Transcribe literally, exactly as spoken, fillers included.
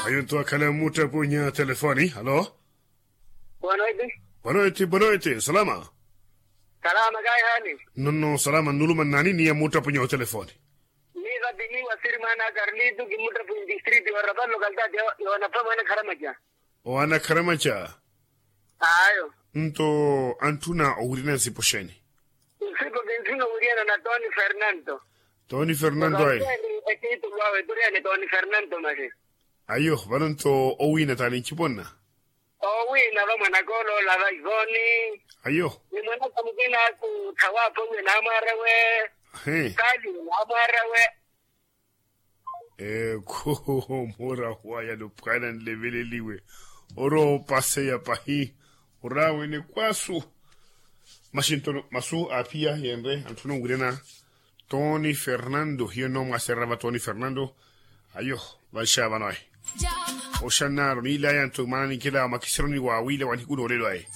Ayo nto akhala mmuttapunya telefoni. Alo. Bonoiti. Bonoiti bonoiti salama. Salama kayi hali? Nonno salama nnuluma nnaani niya mmuttapunya otelefoni. Ni vapini wasiri mwaana a karlitu kimmuttapunya distriti yoorapallo kaltati. Yoonapha mwaana kharamaca. Owaana kharamaca. Ayo. Nto antthuna owirina nsipo xeeni? Nsipo kintthuna owiriyana na toni fernanto. Toni fernanto ayi. Etitulu awe eturiane toni fernanto masi. Ayo vano nto owiina taani nciponna. Owiina va mwanaka oloola va ivoni. Ayo. Ni mwanaka mukina aku thawaapha owiya naamwaara we. He. Kali naamwaara we. Ekhu mura waya luphwana nleveleliwe. Orowa opaseya pahi. Oraawene kwasu. Maxinto masu aaphiya yenre antthuna onwirana. Toni fernando hiyo nno mwaasererya va toni fernando. Ayo. Vanxavano ayi. Oxanaro niilaya nto maana ninkela makisironi wa wila wa nihiku noolelo ayi.